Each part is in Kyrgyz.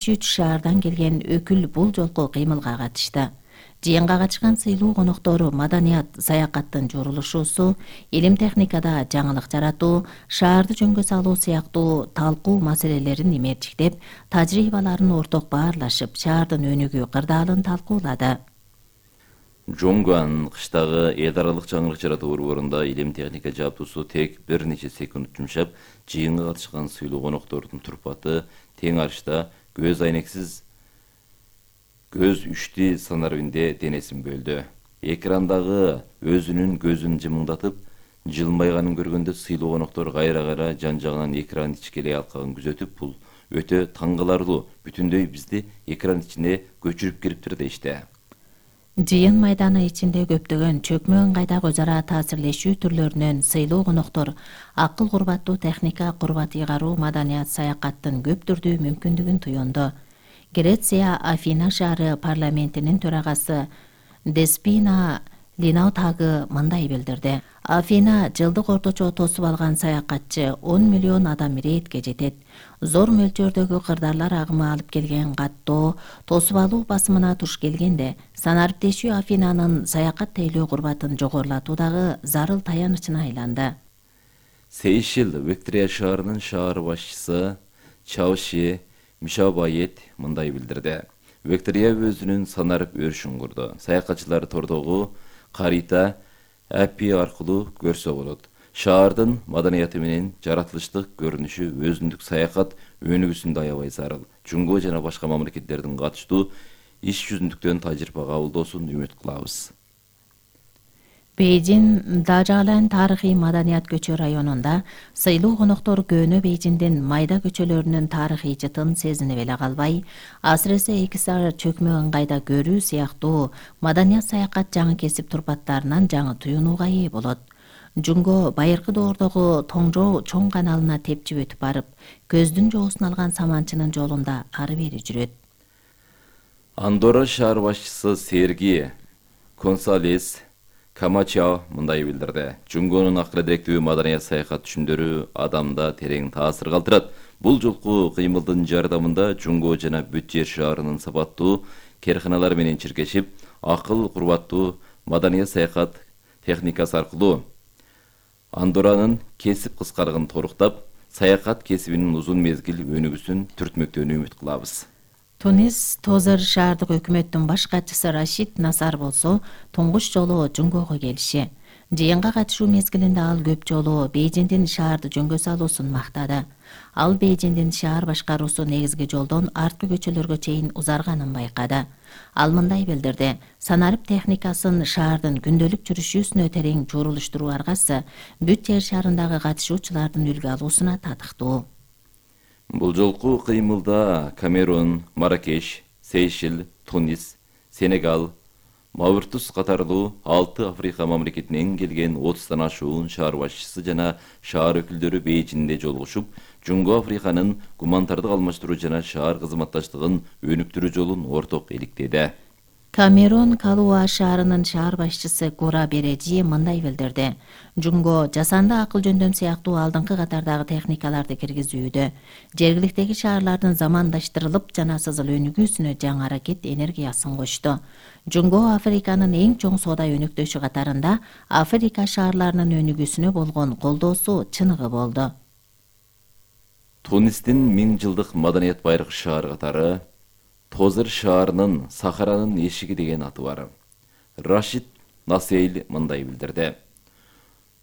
3 шаардан келген өкүл бул жолку кыймылга катышты. Жыйынга катышкан сыйлуу коноктору маданият саякаттын журулушусу, илим техникада жаңылык жаратуу, шаарды жөнгө салуу сыяктуу талкуу маселелерин имерчиктеп, тажрыйбаларын орток баарлашып, шаардын өнүгүү кырдаалын талкуулады. Жоңгуан кыштагы эл аралык жаңылык жаратуу борборунда илим техника жаптуусу тек бир нече секунд жумшап, жыйынга катышкан сыйлуу коноктордун турпаты тең арышта көз айнексиз көз үшти санарбинде денесин бөлдү. Экрандагы өзүнүн көзүн жымыңдатып, жылмайганын көргөндө сыйлуу коноктор кайра жан жагынан экран ичкелей алкагын күзөтүп, бул өтө таң каларлуу, бүтүндөй бизди экран ичине көчүрүп кириптир дейишти. Жыйын майданы ичинде көптөгөн чөкмө ыңгайдагы өз ара таасирлешүү түрлөрүнөн сыйлуу коноктор акыл курбаттуу техника, курбат ыйгаруу, маданият саякаттын көп түрдүү мүмкүндүгүн туюнду. Греция Афина шаары парламентинин төрагасы Деспина Линаутагы мындай билдирди. Афина жылдык орточо тосуп алган саякатчы 10 миллион адам иретке жетет. Зор мөлчөрдөгү кырдаалар агымы алып келген каттоо, тосуп алуу басымына туш келгенде, санариптешүү Афинанын саякат тейлөө курбатын жогорулатуудагы зарыл таянычына айланды. Сейшил Виктория шаарынын шаар башчысы Чауши Мишабайет мындай билдирди. Виктория өзүнүн санарып өрүшүн курду. Саякатчылар тордогу карита API аркылуу көрсө болот. Шаардын маданияты менен жаратылыштык көрүнүшү өзүндүк саякат өнүгүүсүндө аябай зарыл. Жумго жана башка мамлекеттердин катыштуу иш жүзүндүктөн тажрыйба кабылдоосун үмүт кылабыз. Бейжин Дажалан тарыхый маданият көчө районунда сыйлуу коноктор Көөнө Бейжиндин майда көчөлөрүнүн тарыхый жытын сезинип эле калбай, асыресе 2 саар чөкмө ыңгайда көрүү сыяктуу маданият саякат жаңы кесип турпаттарынан жаңы туюнууга ээ болот. Жумго байыркы доордогу Тоңжоо чоң каналына тепчип өтүп барып, көздүн жоосун алган саманчынын жолунда ары бери жүрөт. Андорра шаар башчысы Серги Консалес Камачао мындай билдирди. Жумгонун акыры директүү маданият саякат түшүмдөрү адамда терең таасир калтырат. Бул жолку кыймылдын жардамында Жумго жана бүт жер шаарынын сапаттуу керканалар менен чиркешип, акыл курбаттуу маданият саякат техникасы аркылуу Андорранын кесип кыскарыгын торуктап, саякат кесибинин узун мезгил өнүгүүсүн түртмөктөөнү үмүт кылабыз. Тунис Тозыр шаардык өкмөттүн баш катчысы Рашид Насар болсо, туңгуч жолу Жумгого келиши. Жыйынга катышуу мезгилинде ал көп жолу Бейжиндин шаарды жөнгө салуусун мактады. Ал Бейжиндин шаар башкаруусу негизги жолдон арткы көчөлөргө чейин узарганын байкады. Ал мындай билдирди. Санарып техникасын шаардын күндөлүк жүрүшүүсүнө терең журулуштуруу аркасы бүт жер шаарындагы катышуучулардын үлгү алуусуна татыктуу. Бул жолку кыймылда Камерун, Маракеш, Сейшил, Тунис, Сенегал, Мавритус катарлуу 6 Африка мамлекетинен келген 30тан ашуун шаар башчысы жана шаар өкүлдөрү Бейжиңде жолугушуп, Жумго Африканын гуманитардык алмаштыруу жана шаар кызматташтыгын өнүктүрүү жолун орток иликтеди. Камерун Калуа шаарынын шаар башчысы Кура Бережи мындай билдирди. Жумго жасанды акыл жөндөм сыяктуу алдыңкы катардагы техникаларды киргизүүдө, жергиликтеги шаарлардын замандаштырылып жана сызыл өнүгүүсүнө жаңы аракет энергиясын кошту. Жумго Африканын эң чоң соода өнөктөшү катарында Африка шаарларынын өнүгүүсүнө болгон колдоосу чыныгы болду. Тунистин 1000 жылдык маданият байыркы шаар катары Тозыр шаарынын Сахаранын эшиги деген аты бар. Рашид Насейл мындай билдирди.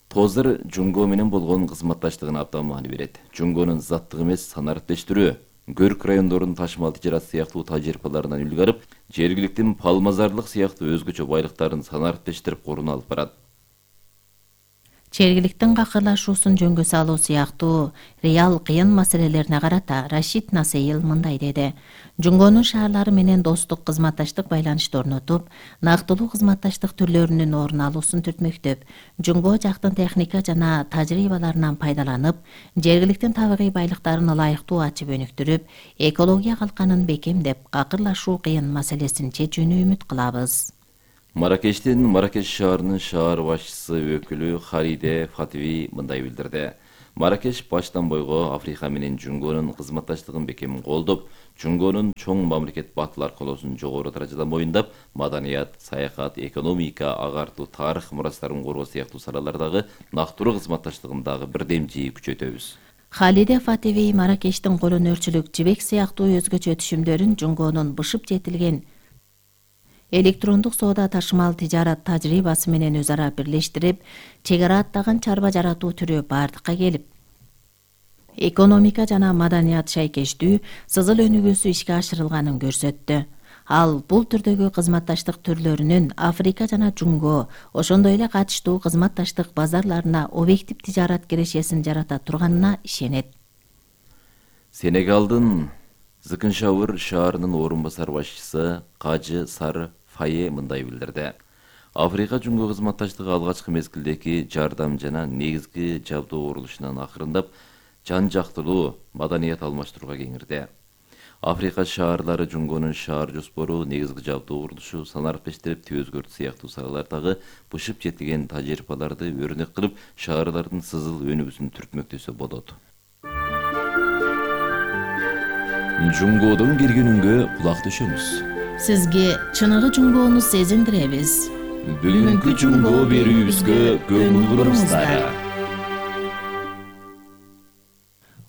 Тозыр Жумго менен болгон кызматташтыгына абдан маани берет. Жумгонун заттык эмес санариптештирүү, көрк райондордун ташмал тижарат сыяктуу тажрыйбаларынан үлгү алып, жергиликтин палмазарлык сыяктуу өзгөчө байлыктарын санариптештирип коруна алып барат. Жергиликтин какырлашуусун жөнгө салуу сыяктуу реал кыйын маселелерине карата Рашид Насейл мындай деди. Жумгонун шаарлары менен достук кызматташтык байланышты орнотуп, нактылуу кызматташтык түрлөрүнүн орун алуусун түртмөктөп, Жумго жактын техника жана тажрыйбаларынан пайдаланып, жергиликтин табигый байлыктарын ылайыктуу ачып өнүктүрүп, экология калканын бекемдеп, какырлашуу кыйын маселесин чечүүнү үмүт кылабыз. Маракештин Маракеш шаарынын шаар башчысы өкүлү Халиде Фатви мындай билдирди. Маракеш баштан бойго Африка менен Жунгонун кызматташтыгын бекемин колдоп, Жунгонун чоң мамлекет батыл аркылоосун жогору даражада моюндап, маданият, саякат, экономика, агартуу, тарых мурастарын коргоо сыяктуу салалардагы нактуруу кызматташтыгын дагы бирдем жийи күчөтөбүз. Халиде Фатеви Маракештин колөнөрчүлүк жибек сыяктуу өзгөчө түшүмдөрүн Жунгонун бышып жетилген электрондук соода ташымал тижарат тажрыйбасы менен өз ара бирлештирип, чек ара аттаган чарба жаратуу түрү бардыкка келип, экономика жана маданият шайкештүү сызыл өнүгүүсү ишке ашырылганын көрсөттү. Ал бул түрдөгү кызматташтык түрлөрүнүн Африка жана Жунго, ошондой эле катыштуу кызматташтык базарларына объектив тижарат кирешесин жарата турганына ишенет. Сенегалдын Зыкыншауыр шаарынын орун басар башчысы Кажы Сары Фае мындай билдирди. Африка Жунго кызматташтыгы алгачкы мезгилдеги жардам жана негизги жабдуу курулушунан акырындап жан жактылуу маданият алмаштырууга кеңирди. Африка шаарлары Жунгонун шаар жоспору, негизги жабдуу курулушу, санарып эштелиптүү өзгөртүү сыяктуу салалардагы бышып жетилген тажрыйбаларды өрнөк кылып, шаарлардын сызыл өнүгүүсүн түртмөктөсө болот. Жунгодон келген үнгө кулак төшөңүз. Сизге чыныгы Жунгону сезиндиребиз. Бүгүнкү Жунго берүүбүзгө көңүл буруңуздар.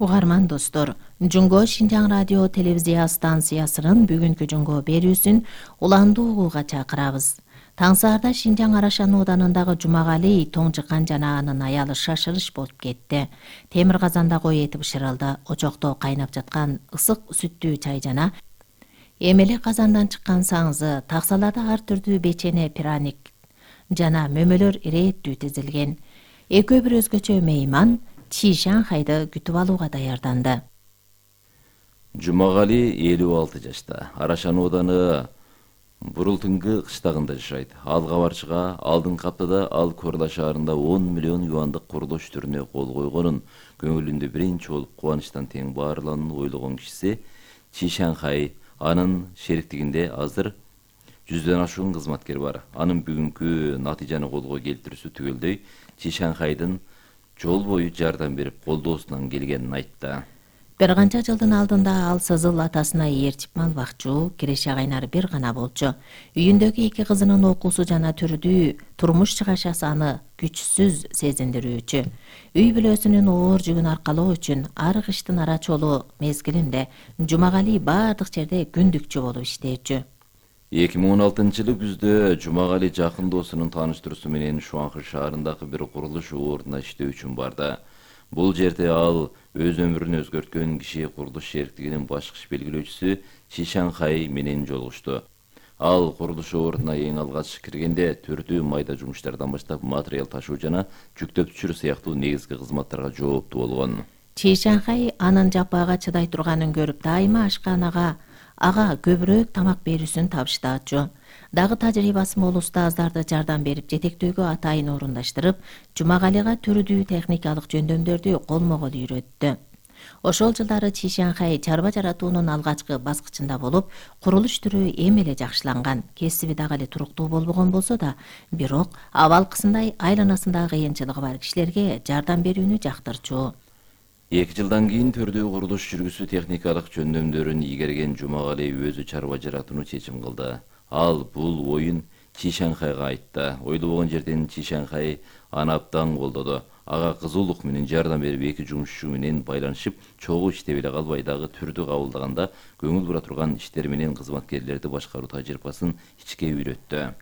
Угарман достор, Жунго Шинжаң радио телевизия станциясынын бүгүнкү Жунго берүүсүн уландуу угууга чакырабыз. Таңсаарда Шинжаң Арашан ооданындагы Жумагали Тоңжыкан жана анын аялы шашырыш болуп кетти. Темир казанда кой эти бышырылды. Очокто кайнап жаткан ысык сүттүү чай жана эмеле казандан чыккан саңзы, таксаларда ар түрдүү печене, пряник жана мөмөлөр ирээттүү тизилген. Экөө бир өзгөчө мейман Чишанхайды күтүп алууга даярданды. Жумагали 56 жашта. Арашан ооданы Бурултунгы кыштагында жашайт. Ал кабарчыга алдыңкы аптада ал Корла шаарында 10 миллион юандык курулуш түрүнө кол койгонун, көңүлүндө биринчи болуп кубанычтан тең баарылганын ойлогон кишиси Чишанхай. Анын шериктигинде азыр 100дөн ашуун кызматкер бар. Анын бүгүнкү натыйжаны колго келтирүүсү түгөлдөй Чишанхайдын жол бою жардам берип колдоосунан келгенин айтты. Бир канча жылдын алдында ал сызыл атасына ээрчип малбакчу, киреше кайнары бир гана болчу. Үйүндөгү 2 кызынын окуусу жана түрдүү турмуш чыгашасы аны күчсүз сезиндирүүчү. Үй бүлөсүнүн оор жүгүн аркалоо үчүн ар кыштын арачолуу мезгилинде Жумагали бардык жерде күндүкчү болуп иштечү. 2016-жылы күздө Жумагали жакын досунун тааныштыруусу менен Шуанхы шаарындагы бир курулуш ордуна иштөө үчүн барды. Бул жерде ал өз өмүрүн өзгөрткөн киши курулуш шериктигинин башкы белгилөөчүсү Чишанхай менен жолугушту. Ал курулуш ордуна эң алгач киргенде түрдүү майда жумуштардан баштап материал ташуу жана жүктөп түшүрүү сыяктуу негизги кызматтарга жооптуу болгон. Чишанхай анын жапаага чыдай турганын көрүп дайыма ашканага ага көбүрөөк тамак берүүсүн табыштаачу. Дагы тажрыйбасы мол устаздарды жардам берип жетектөөгө атайын орундаштырып, Жумагалига түрдүү техникалык жөндөмдөрдү колмо-кол үйрөттү. Ошол жылдары Чишанхай чарба жаратуунун алгачкы баскычында болуп, курулуш түрү эми эле жакшыланган. Кесиби дагы эле туруктуу болбогон болсо да, бирок абалкысындай айланасында кыйынчылыгы бар кишилерге жардам берүүнү жактырчу. 2 жылдан кийин түрдүү курулуш жүргүзүү техникалык жөндөмдөрүн ийгерген Жумагали өзү чарба жаратууну чечим кылды. Ал бул оюн Чишанхайга айтты. Ойлобогон жерден Чишанхай аны абдан колдоду. Ага кызуулук менен жардам берип 2 жумушчу менен байланышып, чогуу иштеп эле калбай дагы түрдү кабылдаганда көңүл бура турган иштер менен кызматкерлерди башкаруу тажрыйбасын ичке үйрөттү.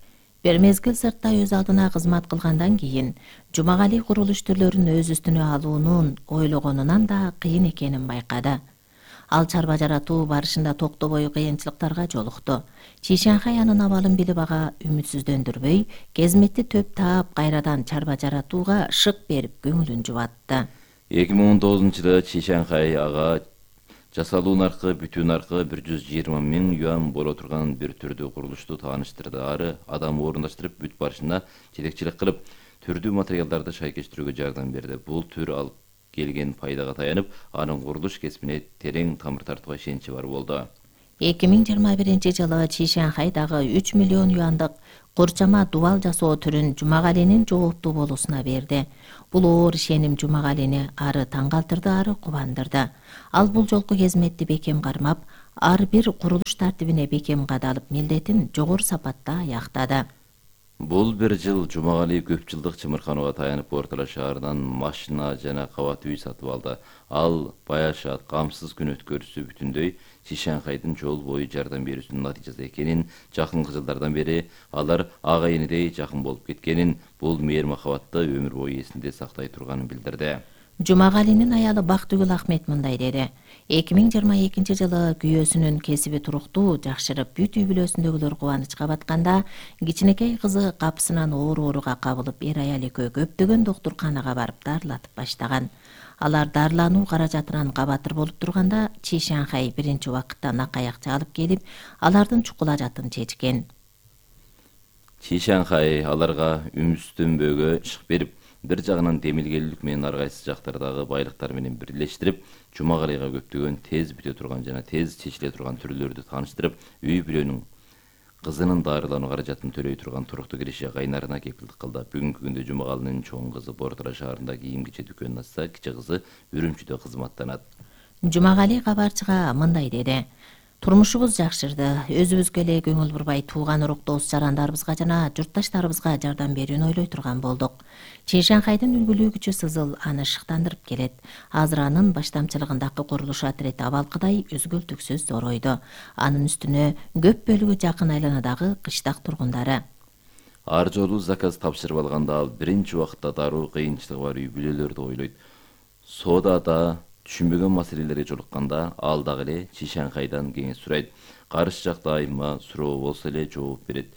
Бир мезгил сыртта өз алдына кызмат кылгандан кийин Жумагали курулуш түрлөрүн өз үстүнө алуунун ойлогонунан да кыйын экенин байкады. Ал чарба жаратуу барышында токтобой кыйынчылыктарга жолукту. Чишанхай анын абалын билип ага үмүтсүздөндүрбөй, кезметти төп таап кайрадан чарба жаратууга шык берип көңүлүн жубатты. 2019-жылы Чишанхай ага жасалуу наркы, бүтүү наркы 120 000 юан боло турган бир түрдүү курулушту тааныштырды. Ары адам орундаштырып бүт барышында жетекчилик кылып, түрдүү материалдарды шайкештирүүгө жардам берди. Бул төр алып келген пайдага таянып, анын курулуш кесибине терең тамыр тартууга ишеничи бар болду. 2021 Чишанхайдагы 3 миллион юандык курчама дубал жасоо түрүн Жумагалинин жооптуу болуусуна берди. Бул оор ишеним Жумагалини ары таң калтырды, ары кубандырды. Ал бул жолку кезметти бекем кармап, ар бир курулуш тартибине бекем кадалып, милдетин жогору сапатта аяктады. Бул бир жыл Жумагали көп жылдык чымырканууга таянып Ортоло шаарынан машина жана кабат үй сатып алды. Ал баяшат, камсыз күн өткөрүүсү бүтүндөй Чишанхайдын жол бою жардам берүүсүнүн натыйжасы экенин, жакынкы жылдардан бери алар ага энедей жакын болуп кеткенин, бул мээр махабатты өмүр бою эсинде сактай турганын билдирди. Жумагалинин аялы Бактыгүл Ахмет мындай деди. 2022 күйөөсүнүн кесиби туруктуу жакшырып, бүт үй бүлөсүндөгүлөр кубанычка батканда, кичинекей кызы капысынан ооруга кабылып, эр аял экөө көптөгөн доктурканага барып дарылатып баштаган. Алар дарылануу каражатынан кабатыр болуп турганда, Чишанхай биринчи убакытта накаякчы алып келип, алардын чукулажатын чечкен. Чишанхай аларга үмүстөнбөгө ишык берип, бир жагынан демилгелүүлүк менен ар кайсы жактардагы байлыктар менен бирлештирип, Жумагалига көптөгөн тез бүтө турган жана тез чечиле турган түрлөрдү тааныштырып, үй бүлөнүн кызынын дарылануу каражатын төлөй турган туруктуу киреше кайнарына кепилдик кылды. Бүгүнкү күндө Жумагалинин чоң кызы Ортоло шаарында кийим-кечек дүкөнүн ачса, кичи кызы Үрүмчүдө кызматтанат. Жумагали кабарчыга мындай деди. Турмушубуз жакшырды. Өзүбүзгө эле көңүл бурбай тууган урук дос жарандарыбызга жана журтташтарыбызга жардам берүүнү ойлой турган болдук. Чишанхайдын үлгүлүү күчү Сызыл аны шыктандырып келет. Азыр анын баштамчылыгындагы курулуш отряд абалкыдай үзгүлтүксүз зоройду. Анын үстүнө көп бөлүгү жакын айланадагы кыштак тургундары. Ар жолу заказ тапшырып алганда ал биринчи убакытта дароо кыйынчылыгы бар үй бүлөлөрдү ойлойт. Соодада түшүнбөгөн маселелерге жолукканда ал дагы эле Чишанхайдан кеңеш сурайт. Каршы жакта айма суроо болсо эле жооп берет.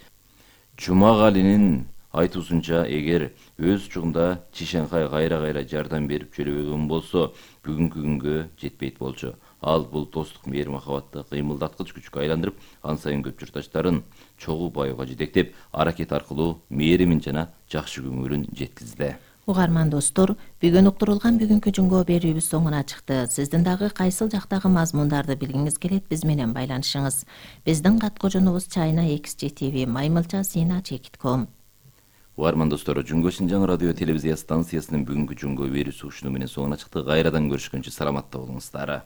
Жумагалинин айтуусунча, эгер өз учугунда Чишанхай кайра жардам берип жөлөбөгөн болсо, бүгүнкү күнгө жетпейт болчу. Ал бул достук мээр махабатты кыймылдаткыч күчкө айландырып, ан сайын көп журтташтарын чогуу баюуга жетектеп, аракет аркылуу мээримин жана жакшы көңүлүн жеткизди. Угарман достор, бүгүн уктурулган бүгүнкү жумго берүүбүз соңуна чыкты. Сиздин дагы кайсыл жактагы мазмундарды билгиңиз келет, биз менен байланышыңыз. Биздин каткожонубуз China-XG-TV maymilcha@sina.com. Угарман достор, Жумго Шинжаң радио телевизия станциясынын бүгүнкү жумго берүүсү ушуну менен соңуна чыкты. Кайрадан көрүшкөнчө саламатта болуңуздар.